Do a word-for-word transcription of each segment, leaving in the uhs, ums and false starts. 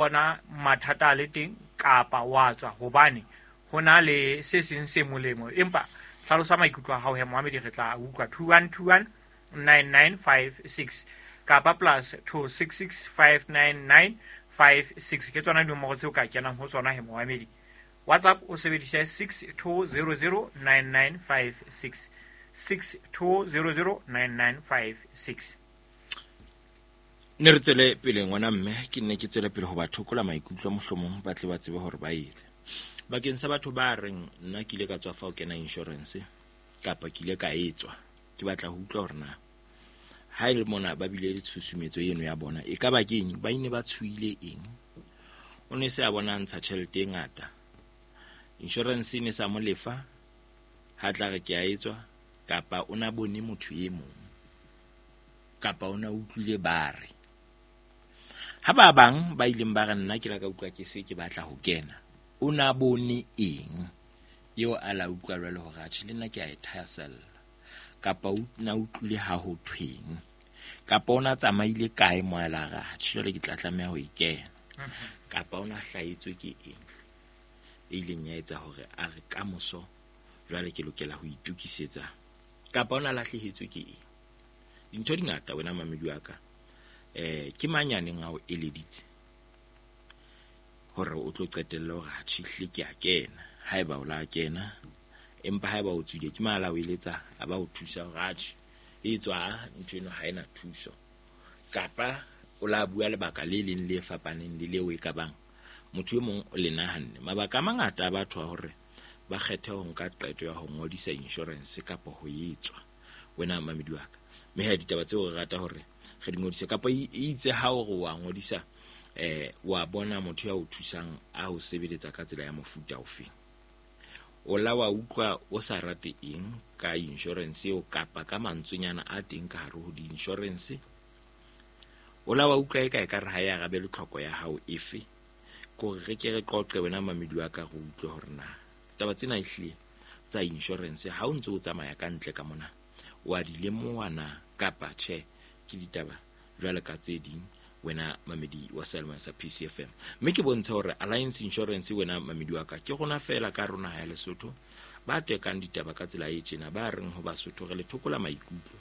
Bona mathata a le teng kapa wa tswa hobane ho na le se seng se molemo, empa hlalosa maikutlo a hao he Mohamedi, re tla utlwa. Two one two one nine nine five six kapa plus two six six five nine nine five six, ke tsona dinomoro tseo ka kenang ho tsona he Mohamedi. WhatsApp o sebedise six two zero zero nine nine five six, six two zero zero nine nine five six. Ne re tswele pele ngwana mme, ke nne ke tswele pele ho ba thokola maikutlo, mohlomong ba tle ba tsebe hore ba etse. Bakeng sa batho ba reng nna ke ile ka tswa fa ho kena insurance kapa ke ile ka etswa, ke batla ho utlwa hore na ha e le mona ba bile le tshusumetso eno ya bona, e ka ba ke eng, ba ine ba tshohile eng. O ne se a bona ntsha tjhelete e ngata, insurance e ne sa mo lefa, ha tla re ke a etswa, kapa o na bone motho e mong, kapa o na utlwile ba re. Ha ba bang ba ileng ba re nna ke la ka utlwa ke se ke batla ho kena, o na bone eng eo a la utlwa jwale hore atjhe le nna ke a e thahasella, kapa o na utlwile ha ho thweng, kapa o na tsamaile kae mo a la re atjhe jwale ke tla tlameha ho e kena, kapa o na hlahetswe ke eng e ileng ya etsa hore a re kamoso jwale ke lokela ho itokisetsa, kapa o na lahlehetswe ke eng. Dintho di ngata wena mamedi wa ka. Eh, ke mang ya neng a o eleditse hore o tlo qetella hore atjhe hle ke a kena, haeba o la kena, empa haeba o tswile ke mang a la o eletsa a ba o thusa hore atjhe e tswa ntho eno ha ena thuso, kapa o la bua lebaka le leng le fapaneng le leo e ka bang motho e mong o le nahanne. Mabaka a mangata a batho a hore ba kgethe ho nka qeto ya ho ngodisa insurance kapa ho etswa, wena mamedi wa ka. Mme ha ditaba tseo re rata hore re di ngodise, kapa e itse ha o re wa ngodisa, eh, wa bona motho ya o thusang a ho sebeletsa ka tsela ya mofuta ofe, o la wa utlwa o sa rate eng ka insurance eo, kapa ka mantswenyana a teng ka hare ho di-insurance, o la wa utlwa e ka e ka re ha e arabe le tlhoko ya hao efe. Kore re ke re qoqe wena mamedi wa ka, re utlwe hore na taba tsena ehlile tsa insurance ha o ntse o tsamaya ka ntle ka mona wa di lemoha na kapa tjhe, ke ditaba jwale ka tse ding wena mamedi wa Selma sa P C F M. Mme ke bontsha hore Alliance Insurance wena mamedi wa ka ke rona fela ka rona ha ya Lesotho ba tekang ditaba ka tsela e tjena, ba reng ho Basotho re le thokola maikutlo,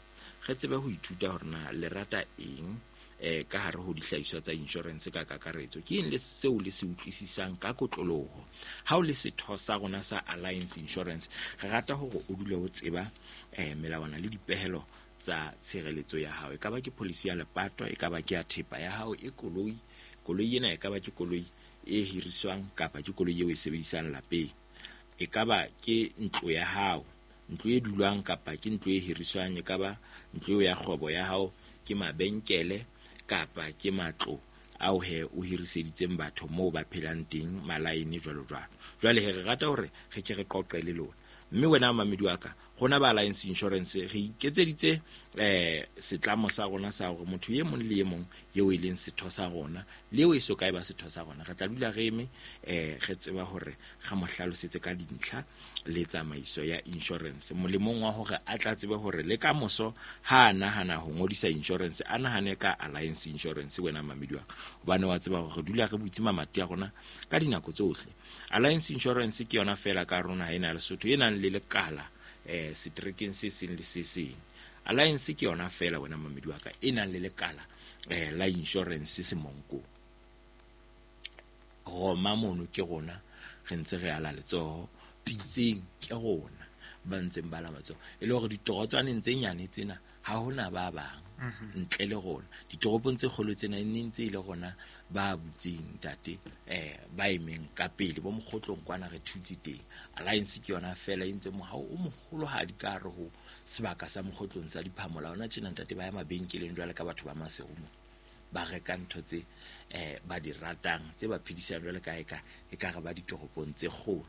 re tsebe ho ithuta hore na le rata eng eh ka hare ho dihlahiswa tsa insurance ka kakaretso, ke eng le seo le se utlwisisang ka kotloloho. Ha o le setho sa rona sa Alliance Insurance, re rata hore o dule o tseba eh melawana le dipehelo tsa tshireletso ya hao, e ka ba ke policy ya lepato, e ka ba ke ya thepa ya hao e koloi, koloi ena e ka ba ke koloi e hiriswang kapa ke koloi eo e sebedisang lapeng, e ka ba ke ntlo ya hao, ntlo e dulwang kapa ke ntlo e hiriswang, e ka ba ntlo eo ya kgwebo ya hao, ke mabenkele kapa ke matlo ao he o hiriseditseng batho moo ba phelang teng, malaene jwalo jwalo. Jwale he re rata hore re ke re qoqe le lona. Mme wena mamedi wa ka, rona ba Alliance Insurance re iketseditse eh setlamo sa rona sa hore motho e mong le e mong eo e leng setho sa rona le eo e so kae ba setho sa rona, re tla dula re eme eh re tseba hore re mo hlalosetse ka dintlha le tsamaiso ya insurance, molemong wa hore a tla tsebe hore le ka moso ha a nahana ho ngodisa insurance a nahane ka Alliance Insurance. Wena mamedi wa ka, hobane wa tseba hore re dula re butse mamati a rona ka dinako tsohle. Alliance Insurance ke yona fela ka rona ha ena Lesotho e nang le lekala eh setrekeng se seng le se seng. Alliance ke yona fela wena mamedi wa ka e nang le lekala eh la insurance Semonkong. Roma mono ke rona re ntse re ala letsoho, Pitseng ke rona ba ntseng ba la matsoho, e le hore ditorotswaneng tse nyane tsena ha hona ba bang ntle le rona. Ditoropong tse kgolo tsena e ne ntse e le rona ba butseng ntate eh ba emeng ka pele bo mokgotlong kwana re thutse teng. Alliance ke yona fela e ntse mohao o moholohadi ka hare ho sebaka sa mokgotlong sa Diphamola. Hona tjena ntate ba ya mabenkeleng jwale ka batho ba Maseru ba reka ntho tse eh ba di ratang tse ba phedisang jwale ka eka e ka re ba ditoropong tse kgolo.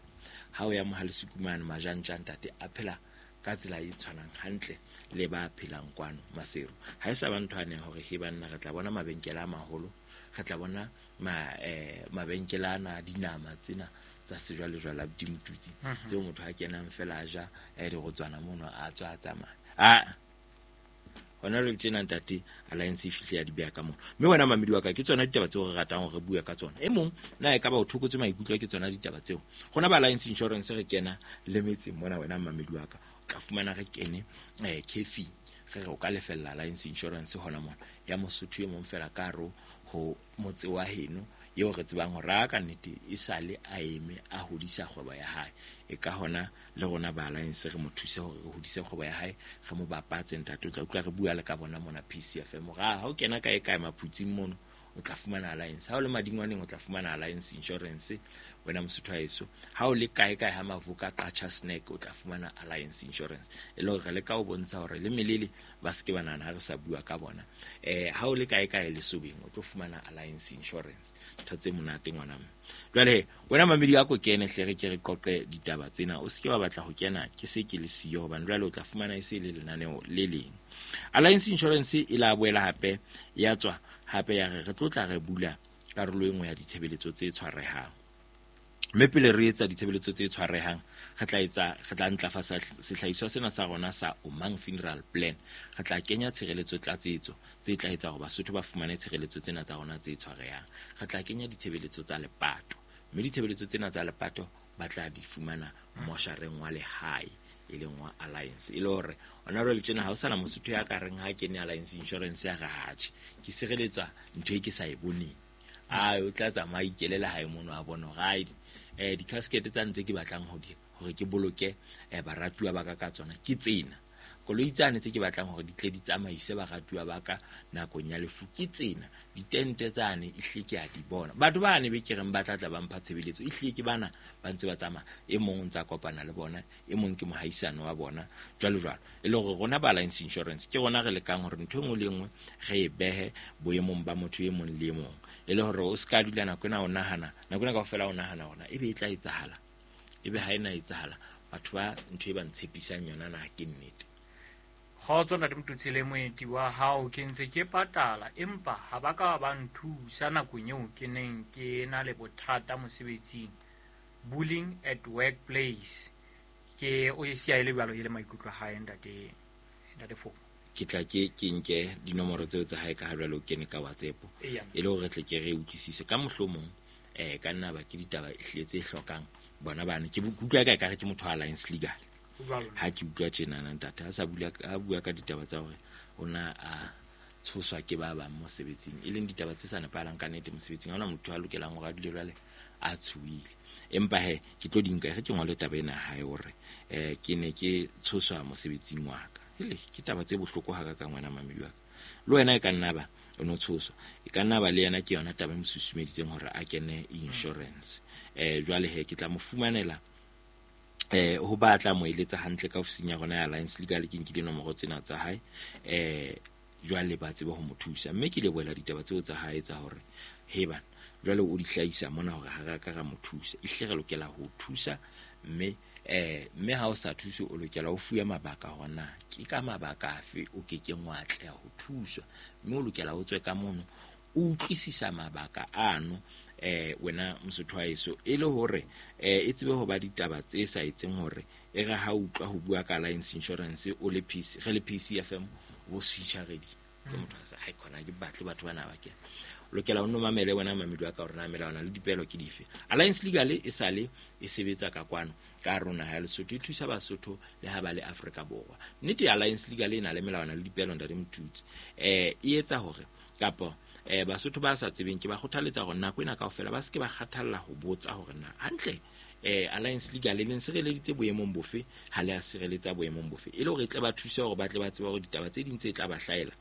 Ha o ya Mohalesekumane Majantja ntate a phela ka tsela e tshwanang hantle le ba phelang kwano Maseru. Ha e sa ba ntho ane hore he banna re tla bona mabenkele a maholo, re tla bona ma eh mabenkele ana dinama tsena tsa sejwalejwale a Dimtutsi tseo motho a kenang fela a ja eh dirotswana mono a tswa a tsamaya. Ah, Hona jwale tjena ntate Alliance e fihle ya di beha ka mona. Mme wena mamedi wa ka ke tsona ditaba tseo re ratang hore re bue ka tsona. E mong na e ka ba o thokotse maikutlo ke tsona ditaba tseo. Rona ba Alliance Insurance re kena le metseng mona wena mamedi wa ka. O tla fumana re kene eh cafe re re o ka lefella Alliance Insurance hona mona ya Mosotho e mong fela ka hare ho motse wa heno eo re tsebang hore a ka nnete e sale a eme a hodisa kgwebo ya hae. E ka hona le rona ba Alliance re mo thuse hore re hodise kgwebo ya hae, re mo bapatse ntate. O tla utlwa re bua le ka bona mona P C F M. Hore ha o kena kae kae maphutsing mono o tla fumana Alliance. Ha o le madingwaneng o tla fumana Alliance Insurance wena Mosotho haeso. Ha o le kae kae ha Mavuka Qacha Snack o tla fumana Alliance Insurance. E le hore re leka ho bontsha hore le melele ba se ke ba nahana ha re sa bua ka bona. Eh ha o le kae kae Lesobeng o tlo fumana Alliance Insurance. Ntho tse monate ngwana mme. Jwale wena mamedi a ko kene hle re ke re qoqe ditaba tsena. O se ke wa batla ho kena ke se ke le siyo hobane jwale o tla fumana e se le lenaneo le leng. Alliance Insurance e la boela hape ya tswa hape ya re re tlo tla re bula karolo e nngwe ya ditshebeletso tse tshwarehang. Mme pele re etsa ditshebeletso tse tshwarehang re tla etsa re tla ntlafatsa sehlahiswa sena sa rona sa Omang Funeral Plan. Re tla kenya tshireletso tlatsetso tse tla etsa hore Basotho ba fumane tshireletso tsena tsa rona tse tshwarehang. Re tla kenya ditshebeletso tsa lepato, mme ditshebeletso tsena tsa lepato ba tla di fumana moshareng wa lehae e leng wa Alliance. E le hore ona jwale tjena ha o sana Mosotho ya ka reng ha kene Alliance Insurance ya re atjhe ke sireletswa ntho e ke sa e boneng. Ai o tla tsamaya ikelela hae mono a bona hore ai eh di-casket tsa ntse ke batlang ho di hore ke boloke eh baratuwa ba ka ka tsona ke tsena. Koloi tsane tse ke batlang hore di tle di tsamaise baratuwa ba ka nakong ya lefu ke tsena. Ditente tsane ehlile ke a di bona. Batho ba ne be ke reng ba tla tla ba mpha tshebeletso ehlile ke bana ba ntse ba tsamaya. E mong o ntsa kopana le bona, e mong ke mohaisano wa bona jwalo jwalo. E le hore rona ba Alliance Insurance ke rona re lekang hore ntho e nngwe le e nngwe re e behe boemong ba motho e mong le e mong. E le hore o ska dula nako ena o nahana, nako ena kaofela o nahana hore ebe e tla etsahala, ebe ha ena etsahala, batho ba ntho e ba ntshepisang yona na ke nnete. Kgotso ntate Motutsi le moeti wa hao, ke ntse ke patala empa ha ba ka ba nthusa nakong eo ke neng ke na le bothata mosebetsing, bullying at workplace. Ke o e siya e le jwalo e le maikutlo a hae ntate ntate Foko. Ke tla ke ke nke dinomoro tseo tsa hae ka ha jwale o kene ka WhatsApp e le hore re tle ke re utlwisise ka mohlomong eh ka nna ba ke ditaba ehlile tse hlokang bona bana. Ke utlwa ka ekare ke motho wa Alliance Legal. Ha ke utlwa tjena na ntate ha sa bula ha bua ka ditaba tsa hore ona a tshoswa ke ba bang mosebetsing, e leng ditaba tse sa nepahalang ka nnete mosebetsing. Ha hona motho a lokelang hore a dule jwale a tshohile. Empa he ke tlo di nka re ke ngole taba ena hae hore eh ke ne ke tshoswa mosebetsing wa ka. Hele ke taba tse bohloko ha ka ka ngwana mamedi wa ka. Le wena e ka nna ba o no tshoswa, e ka nna ba le yena ke yona taba e mo susumeditseng hore a kene insurance. Eh jwale he ke tla mo fumanela eh ho batla mo eletsa hantle ka ofising ya rona ya Alliance Legal. Ke nkile nomoro tsena tsa hae eh jwale ba tsebe ho mo thusa. Mme ke lebohela ditaba tseo tsa hae tsa hore he bana jwale o di hlahisa mona hore ha ra ka ra mo thusa. Ehlile re lokela ho thusa mme eh mme ha o sa thuse o lokela o fuwe mabaka hore na ke ka mabaka afe o ke keng wa atleha ho thuswa, mme o lokela o tswe ka mono o utlwisisa mabaka ano eh wena Mosotho wa heso, e le hore eh e tsebe ho ba ditaba tse sa etseng hore e re ha utlwa ho bua ka Alliance Insurance o le P C re le P C F M o switcha ready ke motho a sa hai khona ke batle batho bana ba ke lokela o no mamele wena mamedi wa ka hore na melawana le dipelo ke dife. Alliance Legal e sale e sebetsa ka kwano ka rona ha Lesotho, e thusa Basotho le ha ba le Afrika Borwa. Nnete ya Alliance Legal e na le melawana le dipelo ntate Motutsi. Eh e etsa hore kapa eh Basotho ba sa tsebeng ke ba kgothaletsa hore nako ena kaofela ba se ke ba kgathalla ho botsa hore na hantle eh Alliance Legal le leng sireleditse boemong bofe ha le a sireletsa boemong bofe, e le hore e tle ba thuse hore ba tle ba tsebe hore ditaba tse ding tse tla ba hlahela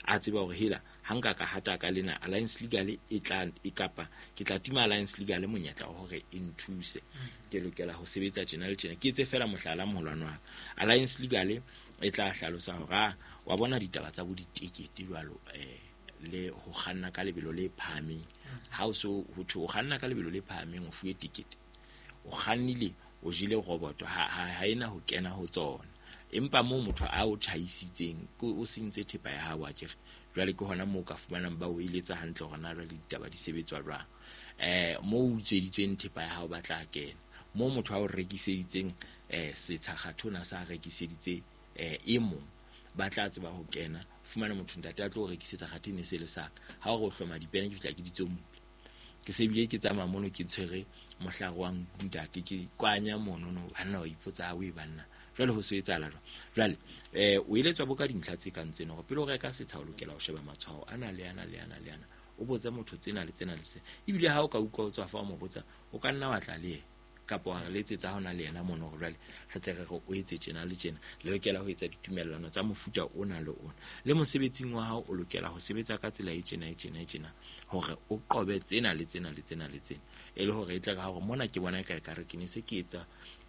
a tseba hore hela ha nka ka hata ka lena Alliance Legal e tla e kapa ke tla tima Alliance Legal monyetla wa hore e nthuse. Ke lokela ho sebetsa tjena le tjena. Ke etse fela mohlala moholwane wa Alliance Legal e tla hlalosa hore wa bona ditaba tsa bo ditekete jwalo eh le ho kganna ka lebelo le phahameng. Ha o so ho thwe o kganna ka lebelo le phahameng o fuwe tikete, o kgannile o jele roboto ha ha ena ho kena ho tsona. Empa moo motho a o tjhaisitseng o sentse thepa ya hao akere, jwale ke hona moo ka fumanang ba o eletsa hantle hore na jwale ditaba di sebetswa jwang. Eh moo o utsweditsweng thepa ya hao ba tla kena, moo motho a o rekiseditseng eh setsha kgathona sa rekiseditse eh e mong ba tla tseba ho kena Fumana motho ntate a tlo rekisetsa kgathe ne se le saka. Ha o re o hloma dipene ke fihla ke ditsomule. Ke se bile ke tsamaya mono ke tshwere mohlare wa ntate ke kwanya mono no banna wa ipotsa o e banna. Jwale ho se etsahala jwang? Jwale eh o eletswa bo ka dintlha tse kang tsena hore pele o reka setsha o lokela ho sheba matshwao ana le ana le ana le ana. O botse motho tsena le tsena le tsena. Ebile ha o ka utlwa o tswa fa o mo botsa o ka nna wa tla le yena kapa wa re letsetsa hona le yena mono hore jwale re tle re re o etse tjena le tjena. Le lokela ho etsa ditumellano tsa mofuta ona le ona. Le mosebetsing wa hao o lokela ho sebetsa ka tsela e tjena e tjena e tjena hore o qobe tsena le tsena le tsena le tsena. E le hore e tle re ha hore mona ke bona e ka ekare ke ne se ke etsa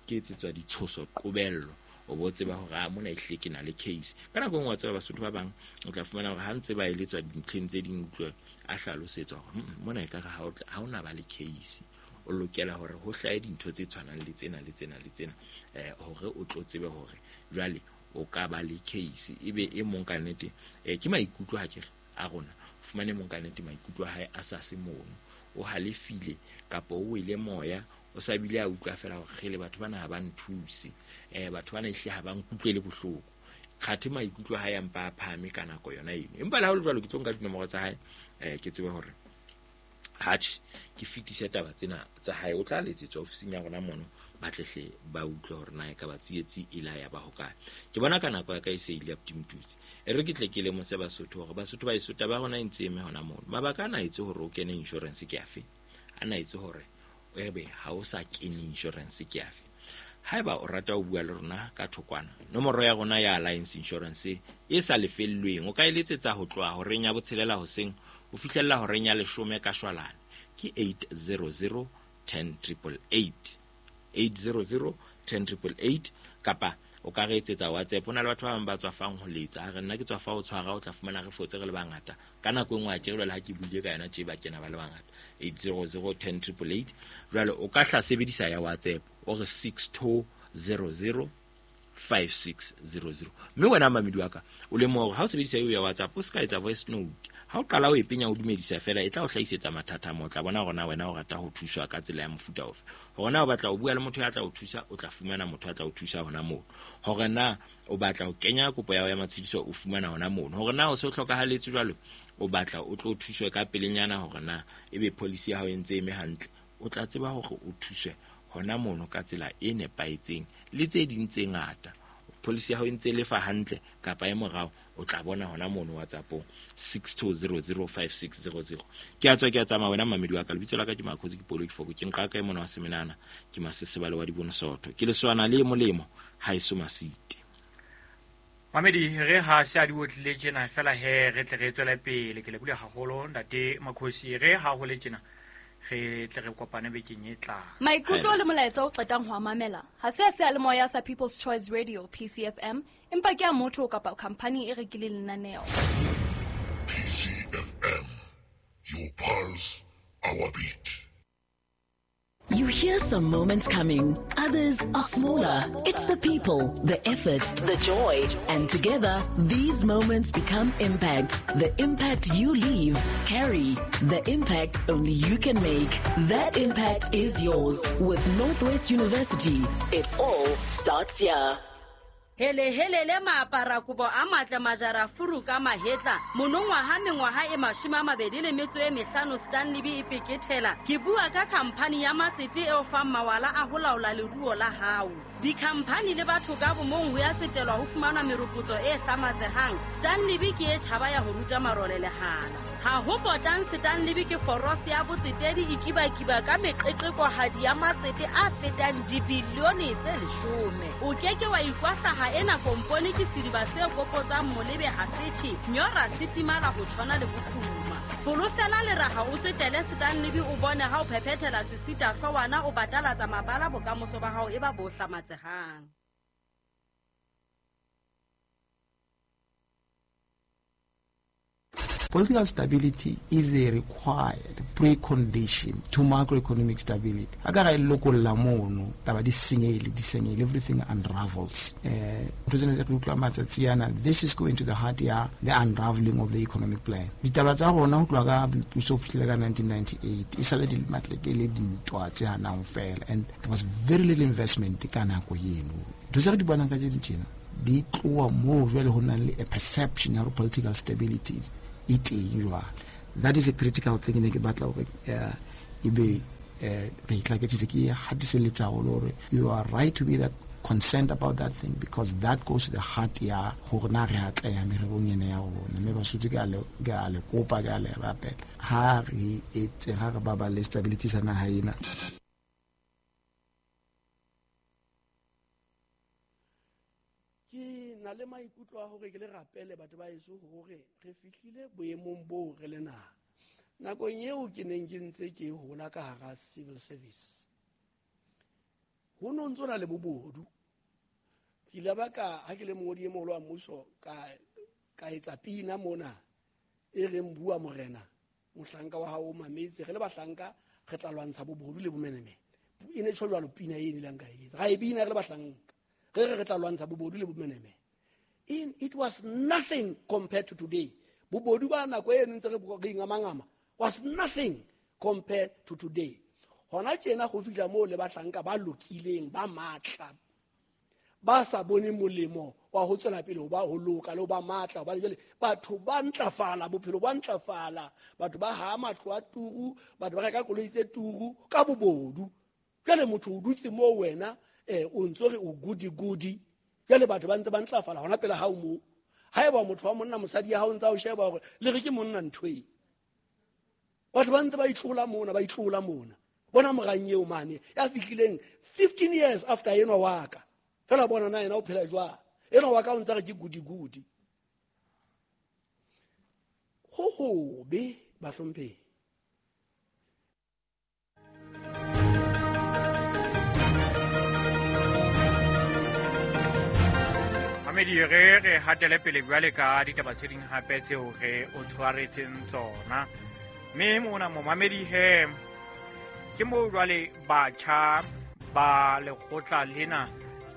ke etsetswa ditshoso qobello. O bo tseba hore a mona ehlile ke na le case. Ka nako e nngwe wa tseba Basotho ba bang o tla fumana hore ha ntse ba eletswa dintlheng tse ding utlwe a hlalosetswa hore mona ekare ha o ha ona ba le case. O lokela hore ho hlahe dintho tse tshwanang le tsena le tsena le tsena eh hore o tlo tsebe hore jwale o ka ba le case. Ebe e mong ka nnete eh ke maikutlo ha ke re a rona fumane mong ka nnete maikutlo a hae a sa se mono. O halefile kapa o wele moya o sa bile a utlwa fela hore kgele batho bana ha ba nthuse eh batho bana ehle ha ba nkutlwele bohloko. Kgathe maikutlo a hae a mpa a phahame ka nako yona eno. Empa le ha ho le jwalo ke tlo nka dinomoro tsa hae eh ke tsebe hore hatjhe ke fetise taba tsena tsa hae. O tla letsetswa ofising ya rona mono ba tlehle ba utlwe hore na e ka ba tsietsi e la ya ba hokae. Ke bona ka nako ya ka e se ile ya Ptimtutsi. E re ke tle ke lemose Basotho hore Basotho ba eso taba ya rona e ntse eme hona mono. Mabaka ana etse hore o kene insurance ke afe? Ana etse hore ebe ha o sa kene insurance ke afe? Haeba o rata ho bua le rona ka thokwana, nomoro ya rona ya Alliance Insurance e sa lefellweng o ka e letsetsa ho tloha horeng ya botshelela hoseng ho fihlella horeng ya leshome ka shwalane ke eight zero zero ten triple eight, eight zero zero ten triple eight kapa o ka re etsetsa WhatsApp. Ho na le batho ba bang ba tswafang ho letsa, a re nna ke tswafa ho tshwara, o tla fumana re fotse re le bangata ka nako e nngwe a ke re le ha ke buile ka yona tje ba kena ba le bangata. Eight zero zero ten triple eight. Jwale o ka hla sebedisa ya WhatsApp o re six two zero zero five six zero zero. Mme wena mamedi wa ka o lemoha hore ha o sebedisa eo ya WhatsApp o se ka etsa voice note. Ha o qala o e penya o dumedisa fela e tla o hlahisetsa mathata mo. O tla bona hore na wena o rata ho thuswa ka tsela ya mofuta ofe. Hore na o batla ho bua le motho ya tla o thusa, o tla fumana motho ya tla o thusa hona moo. Hore na o batla ho kenya kopo ya hao ya matshediso, o fumana hona mono. Hore na o se o hlokahaletse jwalo, o batla o tlo thuswe ka pelenyana hore na ebe policy ya hao e ntse eme hantle, o tla tseba hore o thuswe hona mono ka tsela e nepahetseng le tse ding tse ngata. Policy ya hao e ntse lefa hantle kapa e morao, o tla bona hona mono WhatsAppong six two zero zero five six zero zero. Ke a tswa ke a tsamaya wena mamedi wa ka. Lebitso la ka ke Makhosi ke Polo ke Foko ke nqa ka e mona wa Semenana ke Masesebale wa Dibonosoto ke leswana le molemo ha eso masite. Mamedi re ha se a di otlile tjena fela he re tle re tswele pele. Ke lebohile haholo ntate Makhosi. Re ha ho le tjena re tle re kopane bekeng e tlang. Maikutlo le molaetsa o qetang ho mamela ha se a seyalemoya sa People's Choice Radio P C F M, empa ke a motho kapa company e rekileng lenaneo. P C F M, your pulse, our beat. You hear some moments coming, others are smaller. It's the people, the effort, the joy. And together, these moments become impact. The impact you leave, carry. The impact only you can make. That impact is yours. With Northwest University, it all starts here. Hele hele le maapara kobo a matle majara furu ka mahetla monongwaha mengwaha e mashome a mabedi le metso e mehlano Stanley B e pekethela. Ke bua ka khamphani ya matsete eo fang mawala a ho laola leruo la hao. Dikhamphani le batho ka bomong ho ya tsetelwa ho fumana meropotso e hlamatsehang. Stanley B ke e tjhaba ya ho ruta marole lehala. Ha ho potang Stanley B ke forose ya botsetedi e kibakiba ka meqeqekohadi ya matsete a fetang dibilione tse leshome. O keke wa ikwahlaha ena kompone ke sediba se kopotsang molebe ha setjhe nyora se timala ho tshwana le bofuma. Folofela leraha o tsetele Stanley B o bone ha o phephethela sesita hlwana o batalatsa mabala bokamoso ba hao e ba bo hlamatsehang. Political stability is a required precondition to macroeconomic stability. Akara lokolla mono taba di senyehile di senyehile, everything unravels. Eh President utlwa matsatsi ana, this is going to the heart ya the unraveling of the economic plan. Ditaba tsa rona ho tloha ka boipuso ho fihlela ka nineteen ninety-eight e sale di matleke le dintwa tse hanang fela, and there was very little investment ka nako eno. Ntho tse re di bonang ka tse tjena di tloha moo jwale ho nang le a perception ya political stability e teng jwale. That is a critical thing ne ke batla hore e be re itlaketsitse ke hatiseletsa haholo hore you are right to be that concerned about that thing, because that goes to the heart ya hore na re atleha mererong ena ya rona. Mme Basotho ke a le ke a le kopa, ke a le rapela, ha re etse ha re baballe stability sa naha ena. Ke na le maikutlo a hore ke le rapele batho ba heso hore re fihlile boemong boo re le naha. Nakong eo ke neng ke ntse ke hola ka hara civil service, ho no ntso na le bobodu. Ke ile ba ka ha ke le mongodi e moholo wa mmuso ka ka etsa pina mona e reng bua morena mohlanka wa hao o mametse, re le bahlanka re tla lwantsha bobodu le bomenemene. E ne tjho jwalo pina e nileng ka etsa, ra e bina re le bahlanka, re re re tla lwantsha bobodu le bomenemene. In it was nothing compared to today. Bobodu ba nako e ntse re re ingamangama was nothing compared to today. Hona tjena go fihla moo le bahlanka ba lokileng ba matla ba sa bone molemo wa ho tswela pele ho ba ho loka le ho ba matla, hobane jwale batho ba ntlafala, bophelo ba ntlafala, batho ba ha matlo a turu, batho ba reka koloi tse turu ka bobodu. Jwale motho o dutse moo wena eh o ntso re o gudi gudi, jwale batho ba ntse ba ntlafala hona pele ha o moo. Haeba motho wa monna mosadi ya hao ntsa o sheba hore le re ke monna ntho e, batho ba ntse ba itlola mona, ba itlola mona. Bona morang eo mane ya fihlileng fifteen years after enwa wa ka, fela bona na yena o phela jwang, enwa wa ka o ntse re ke gudi gudi. Ho hobe bahlomphehi. Mamedi, re re hatele pele jwale ka ditaba tse ding hape tseo re o tshwaretseng tsona. Mme mona momamedi he ke moo jwale batjha ba lekgotla lena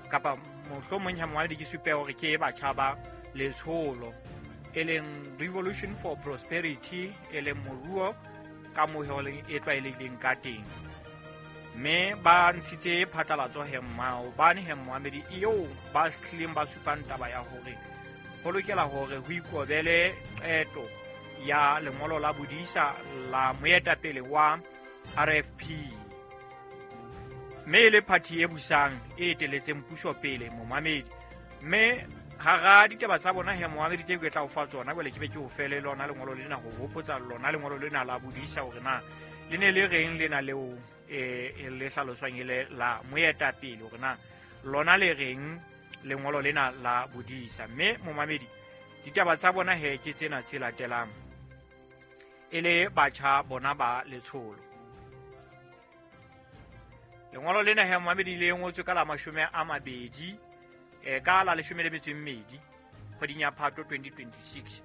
kapa mohlomong ha moamedi ke supe hore ke batjha ba letsholo e leng Revolution for Prosperity, e leng moruo ka mohelo e tlwaelehileng ka teng. Mme ba ntshitse phatlalatso he maobane he moamedi eo ba hlileng ba supang taba ya hore ho lokela hore ho ikobele qeto ya lengolo la bodisa la moetapele wa R F P, mme le party e busang e eteletseng puso pele momamedi. Mme hara ditaba tsa bona he momamedi tse ke tla o fa tsona jwale ke be ke o fele lona lengolo lena ho hopotsa lona lengolo lena la bodisa hore na le ne le reng lena leo e le hlaloswang e le la moetapele hore na lona le reng lengolo lena la bodisa. Mme momamedi ditaba tsa bona he ke tsena tse latelang e le batjha bona ba letsholo. Lengolo lena he momamedi le ngotswe ka la mashome a mabedi e ka la leshome le metso e mmedi kgweding ya Phato twenty twenty-six,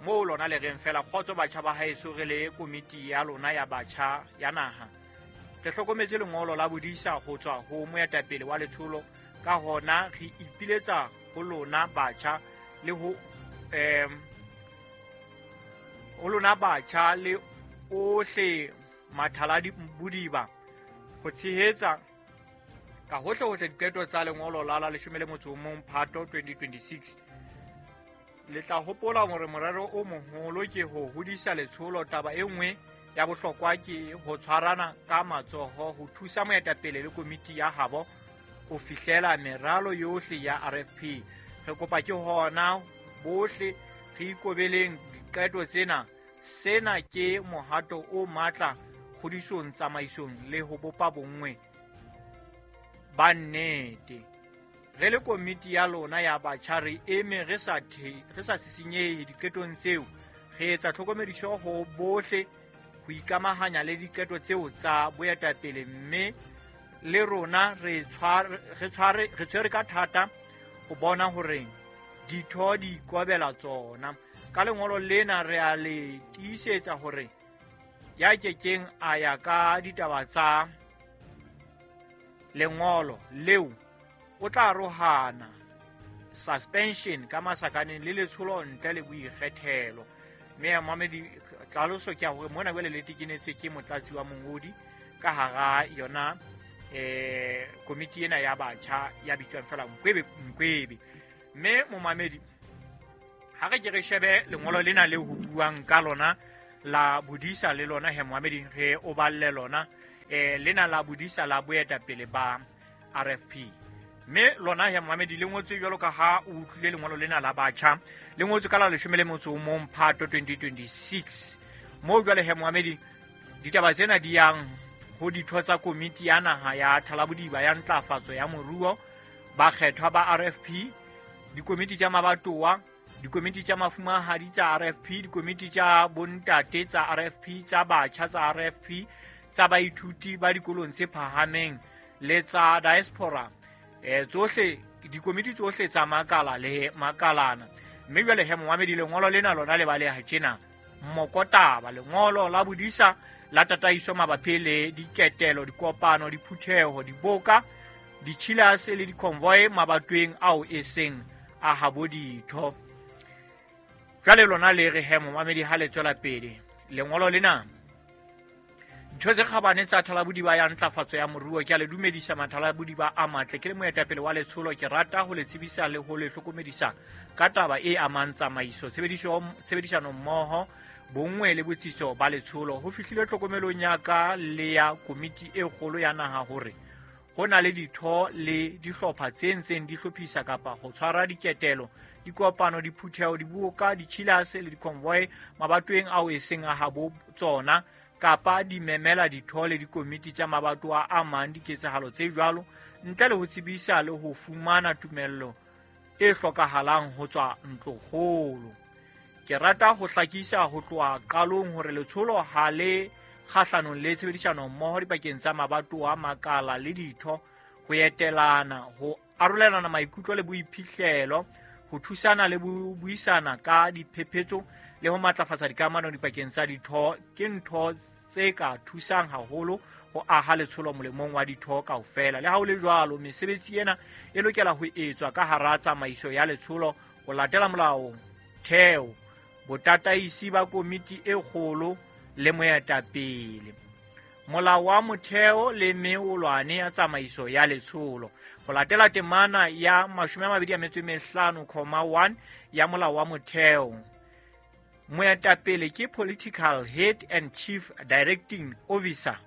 moo lona le reng fela kgotso batjha ba haeso, re le komiti ya lona ya batjha ya naha re hlokometse lengolo la bodisa ho tswa ho moetapele wa letsholo, ka hona re ipiletsa ho lona batjha le ho em ho lona batjha le ohle mathaladi bodiba ho tshehetsa ka hohle hohle diqeto tsa lengolo la la leshome le motso o mong Phato twenty twenty-six. Le tla hopola hore morero o moholo ke ho hodisa letsholo. Taba e nngwe ya bohlokwa ke ho tshwarana ka matsoho ho thusa moetapele le komiti ya habo ho fihlela meralo yohle ya R F P. Re kopa ke hona bohle re ikobeleng diqeto tsena. Sena ke mohato o matla kgodisong, tsamaisong le ho bopa bonngwe ba nnete. Re le komiti ya lona ya batjha re eme re sa re sa sisinyehe diqetong tseo. Re etsa tlhokomediso ho bohle ho ikamahanya le diqeto tseo tsa boetapele, mme le rona re tshware re tshware re tshwere ka thata ho bona hore ditho di ikobela tsona. Ka lengolo lena re a le tiisetsa hore ya kekeng a ya ka ditaba tsa lengolo leo o tla arohana suspension ka masakaneng le letsholo ntle le boikgethelo. Mme momamedi tlhaloso ke ya hore mona jwale le tekenetswe ke motlatsi wa mongodi ka hara yona eh komiti ena ya batjha ya bitswang fela Nkwebe Nkwebe. Mme momamedi, ha re ke re shebe lengolo lena le ho buang ka lona la bodisa le lona he momamedi, re o balle lona eh lena la bodisa la boetapele ba R F P. Mme lona he momamedi le ngotswe jwalo ka ha o utlwile lengolo lena la batjha, le ngotswe ka la leshome le motso o mong Phato twenty twenty-six. Moo jwale he momamedi ditaba tsena di yang ho ditho tsa komiti ya naha ya Thalabodiba ya ntlafatso ya moruo, bakgethwa ba R F P, dikomiti tsa mabatowa, dikomiti tsa mafumahadi tsa R F P, dikomiti tsa bontate tsa R F P, tsa batjha tsa R F P, tsa baithuti ba dikolong tse phahameng le tsa diaspora. Eh tsohle dikomiti tsohle tsa makala le makalana. Mme jwale he momamedi lengolo lena lona le baleha tjena. Mokotaba lengolo la bodisa la tataiso mabapi le diketelo, dikopano, diphutheho, diboka, ditjhilase le diconvoy mabatweng ao e seng a habo ditho. Jwale lona le re he momamedi ha le tswela pele lengolo lena, ditho tse kgabane tsa Thalabodiba ya ntlafatso ya moruo, ke a le dumedisa Mathalabodiba a matle. Ke le moetapele wa letsholo, ke rata ho le tsebisa le ho le hlokomedisa ka taba e amang tsamaiso, tshebediso tshebedisano mmoho, bonngwe le botsitso ba letsholo. Ho fihlile tlhokomelong ya ka le ya komiti e kgolo ya naha hore ho na le ditho le dihlopha tse ntseng di hlophisa kapa ho tshwara diketelo, dikopano, diphutheho, diboka, ditjhilase le diconvoy mabatoweng ao e seng a habo tsona, kapa di memela ditho le dikomiti tsa mabatowa a mang diketsahalo tse jwalo ntle le ho tsebisa le ho fumana tumello e hlokahalang ho tswa ntlokgolo. Ke rata ho hlakisa ho tloha qalong hore letsholo ha le kgahlanong le tshebedisano mmoho dipakeng tsa mabatowa, makala le ditho, ho etelana, ho arolelana maikutlo le boiphihlelo, ho thusana le buisana ka diphephetso le ho matlafatsa dikamano dipakeng tsa ditho ke ntho tse ka thusang haholo ho aha letsholo molemong wa ditho kaofela. Le ha ho le jwalo, mesebetsi ena e lokela ho etswa ka hara tsamaiso ya letsholo ho latela molao theo, botataisi ba komiti e kgolo le moetapele, molao wa motheo le meolwane ya tsamaiso ya letsholo. Ho latela temana ya mashome a mabedi a metso e mehlano comma one ya molao wa motheo, moetapele ke political head and chief directing officer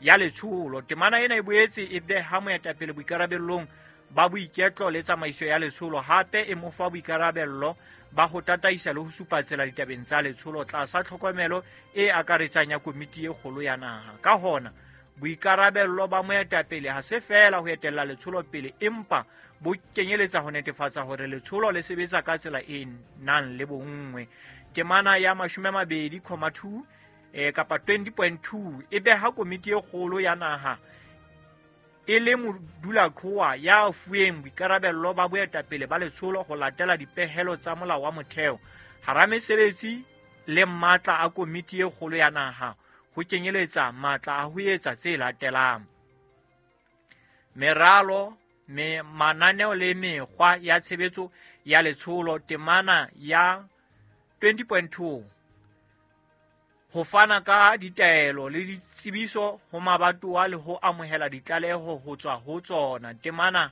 ya letsholo. Temana ena e boetse e beha moetapele boikarabellong ba boiketlo le tsamaiso ya letsholo, hape e mo fa boikarabello ba ho tataisa le ho supa tsela ditabeng tsa letsholo tlasa tlhokomelo e akaretsang ya komiti e kgolo ya naha. Ka hona, boikarabello ba moetapele ha se feela ho etella letsholo pele, empa bo kenyeletsa ho netefatsa hore letsholo le sebetsa ka tsela e nang le bonngwe. Temana ya mashome a mabedi comma two eh, kapa twenty point two e beha komiti e kgolo ya naha e le modulaqhowa ya fuweng boikarabello ba boetapele ba letsholo ho latela dipehelo tsa molao wa motheo. Hara mesebetsi le matla a komiti e kgolo ya naha ho kenyeletsa matla a ho etsa tse latelang: meralo, me mananeo le mekgwa ya tshebetso ya letsholo. Temana ya twenty point two ho fana ka ditaelo le ditsebiso ho mabatowa le ho amohela ditlaleho ho tswa ho tsona. Temana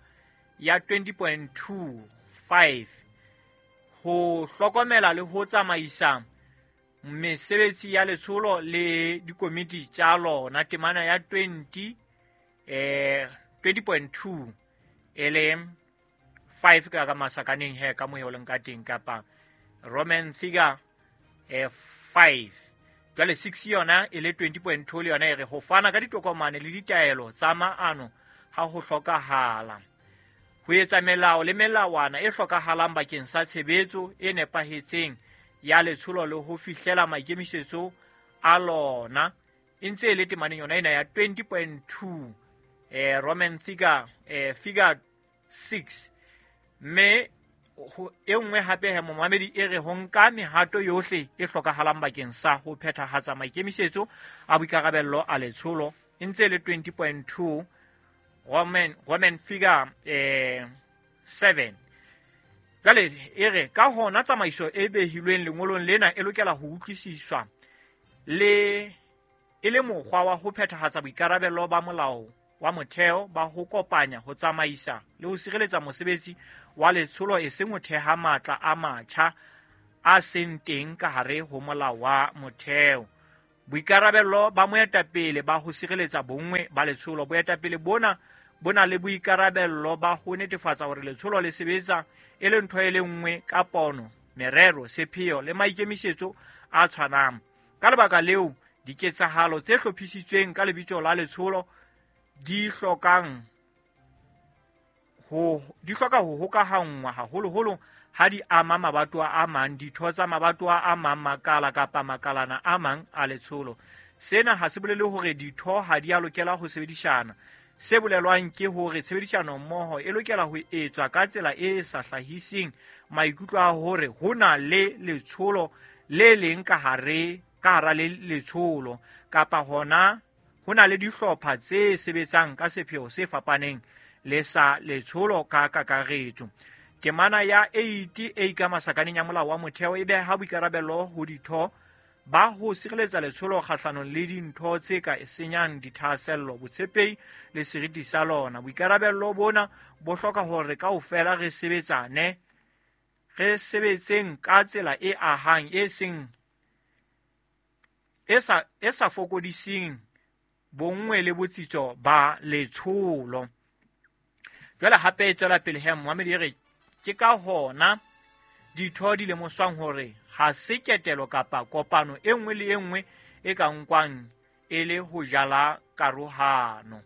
ya twenty point two five ho hlokomela le ho tsamaisa mesebetsi ya letsholo le dikomiti tsa lona. Temana ya twenty eh twenty point two e le five ka ka masakaneng he ka mohe o leng ka teng, kapa Roman figure eh five. Jwale six yona e le twenty point two le yona e re ho fana ka ditokomane le ditaelo tsa maano ha ho hlokahala, ho etsa melao le melawana e hlokahalang bakeng sa tshebetso e nepahetseng ya letsholo le ho fihlela maikemisetso a lona. E ntse e le temaneng yona ena ya twenty point two eh Roman figure eh figure six. Mme e nngwe hape he momamedi e re ho nka mehato yohle e hlokahalang bakeng sa ho phethahatsa maikemisetso a boikarabello a letsholo. E ntse le twenty point two Roman Roman figure eh seven. Jwale e re ka hona tsamaiso e behilweng lengolong lena e lokela ho utlwisiswa le e le mokgwa wa ho phethahatsa boikarabello ba molao wa motheo ba ho kopanya, ho tsamaisa le ho sireletsa mosebetsi wa letsholo, e seng ho theha matla a matjha a seng teng ka hare ho molao wa motheo. Boikarabello ba moetapele ba ho sireletsa bonngwe ba letsholo. Boetapele bona bo na le boikarabello ba ho netefatsa hore letsholo le sebetsa e le ntho e le nngwe ka pono, merero, sepheo le maikemisetso a tshwanang. Ka lebaka leo, diketsahalo tse hlophisitsweng ka lebitso la letsholo di hlokang ho di hloka ho hokahanngwa haholoholo ha di ama mabatowa a mang, ditho tsa mabatowa a mang, makala kapa makalana a mang a letsholo. Sena ha se bolele hore ditho ha di a lokela ho sebedisana. Se bolelwang ke hore tshebedisano mmoho e lokela ho etswa ka tsela e sa hlahiseng maikutlo a hore ho na le letsholo le leng ka hare ka hara le letsholo, kapa hona ho na le dihlopha tse sebetsang ka sepheo se fapaneng le sa letsholo ka kakaretso. Temana ya eight e ka masakaneng ya molao wa motheo e beha boikarabelo ho ditho ba ho sireletsa letsholo kgahlanong le dintho tse ka senyang dithahasello, botshepehi le seriti sa lona. Boikarabello bona bo hloka hore kaofela re sebetsane, re sebetseng ka tsela e ahang, e seng e sa e sa fokodiseng bonngwe le botsitso ba letsholo. Jwale hape e tswela pele he momamedi e re ke ka hona ditho di lemoswang hore ha se ketelo kapa kopano e nngwe le e nngwe e ka nkwang e le ho jala karohano.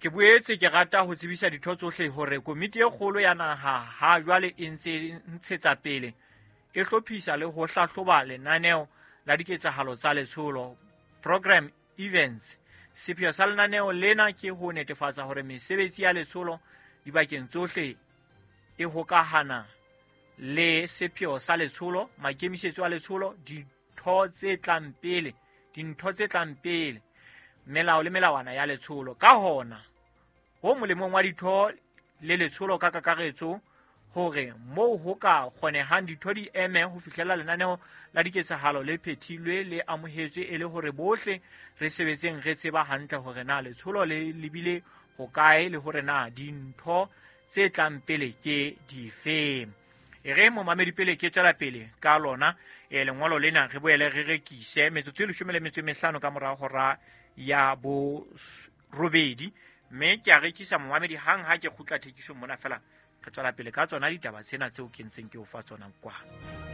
Ke boetse ke rata ho tsebisa ditho tsohle hore komiti e kgolo ya naha ha jwale e ntse ntshetsa pele e hlophisa le ho hlahloba lenaneo la diketsahalo tsa letsholo, program events. Sepheo sa lenaneo lena ke ho netefatsa hore mesebetsi ya letsholo dibakeng tsohle e hokahana le sepheo sa letsholo, maikemisetso a letsholo, ditho tse tlang pele, dintho tse tlang pele, melao le melawana ya letsholo. Ka hona, ho molemong wa ditho le letsholo ka kakaretso hore moo ho ka kgonehang ditho di eme ho fihlela lenaneo la diketsahalo le phethilwe le amohetswe, e le hore bohle re sebetseng re tseba hantle hore na letsholo le lebile hokae le hore na dintho tse tlang pele ke dife. E re momamedi pele ke tswela pele ka lona e lengolo lena re boele re rekise metsotso e leshome le metso e mehlano ka mora hora ya bo robedi, mme ke a rekisa momamedi hang ha ke kgutla thekisong mona fela re tswela pele ka tsona ditaba tsena tseo ke ntseng ke o fa tsona kwa.